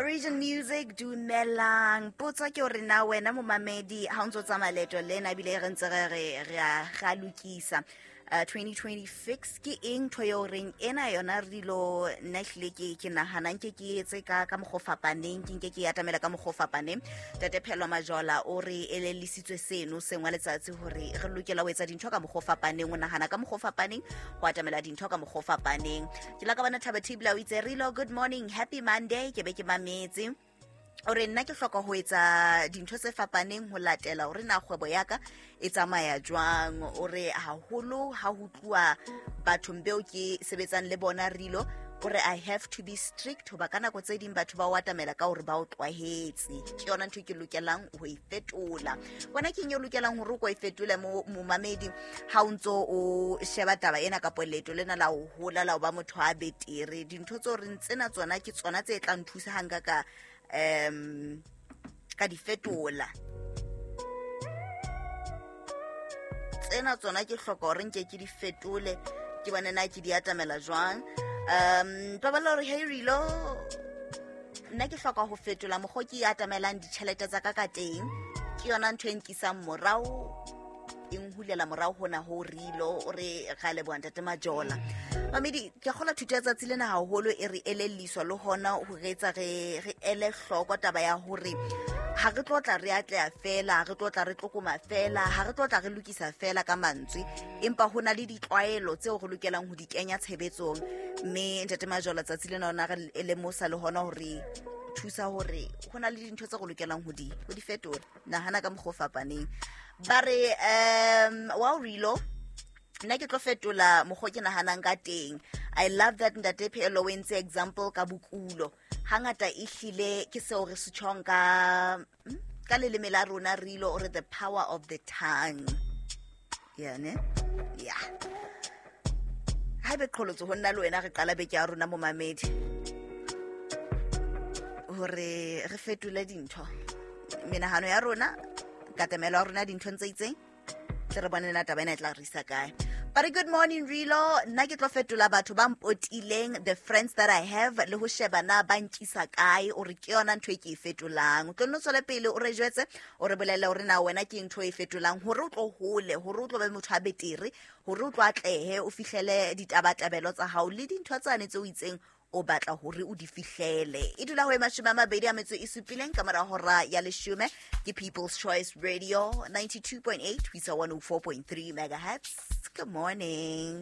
Origin Music, dumelang. Potso ke hore na wena momamedi ha o ntso tsamaya leeto lena ebile re ntse re re re a re a lokisa 2026, ke eng ntho eo reng ena yona re dilo nna ehlile ke nahanang ke etse ka mokgwa o fapaneng, ke nke ke atamela ka mokgwa o fapaneng? Tate Phelo Majola o re elellisitswe seno seng wa letsatsi hore re lokela ho etsa dintho ka mokgwa o fapaneng, o nahana ka mokgwa o fapaneng, ho atamela dintho ka mokgwa o fapaneng. Ke la ka bona Thabo Thibla o itse, "Rilo, good morning, happy Monday, ke be ke mametse." O re, "Nna ke hloka ho etsa dintho tse fapaneng ho latela hore na kgwebo ya ka e tsamaya jwang." O re haholo ha ho tluwa bathong beo ke sebetsang le bona, Rilo, o re, "I have to be strict hoba ka nako tse ding batho ba o atamela ka hore ba o tlwahetse. Ke yona ntho e ke lokelang ho e fetola." Wena ke eng e o lokelang hore o ko e fetole, momamedi, ha o ntso o sheba taba ena kapo leeto lena la ho hola, la ho ba motho a betere? Dintho tse o reng tsena tsona ke tsona tse tlang thusa ha nka ka di fetola, tsena tsona ke hloka hore nke ke di fetole, ke bone na ke di atamela jwang. Paballo hore, "Hey Rilo, nna ke hloka ho fetola mokgwa ke atamelang ditjhelete tsa ka ka teng. Ke yona ntho e nkisang morao, e nhulela morao hona ho." Rilo o re ga leboha, ntate Majola. Mamedi, ke kgola thuto ya tsatsi lena haholo e re elelliswa le hona ho re etsa re ele hloko taba ya hore ha re tlo tla re atleha fela, ha re tlo tla re tlokoma fela, ha re tlo tla re lokisa fela ka mantswe, empa ho na le ditlwaelo tseo re lokelang ho di kenya tshebetsong. Mme ntate Majola tsatsi lena ona re lemosa le hona hore thusa hore ho na le dintho tse re lokelang ho di fetola, nahana ka mokgwa o fapaneng. Ba re wa Rilo, nna ke tlo fetola mokgwa ke nahanang ka teng. I love that ntate Phelo o entse example ka bokulo. Hangata ehlile ke seo re se tjhong ka leleme la rona. Rilo o re, "The power of the tongue." Yeah, ne, yeah. Haebe qholotso ho nna le wena re qala beke ya rona, momamedi, hore re fetole dintho, menahano ya rona, katamelo ya rona dinthong tse itseng, tle re bone na taba ena e tla re isa kae. But good morning Rilo, nna ke tlo fetola batho ba mpotileng, the friends that I have, le ho sheba na ba nkisa kae. O re ke yona ntho e ke e fetolang. O tlo nno tswele pele o re jwetse, o re bolelle hore na wena ke ntho e fetolang hore o tlo hole, hore o tlo be motho a betere, hore o tlo atlehe, o fihlele ditabatabelo tsa hao le dintho tsane tse o itseng o batla hore o di fihlele. E dula ho e 27 ka mora hora ya 10. Ke People's Choice Radio, 92.8 ho isa 104.3 megahertz. Good morning.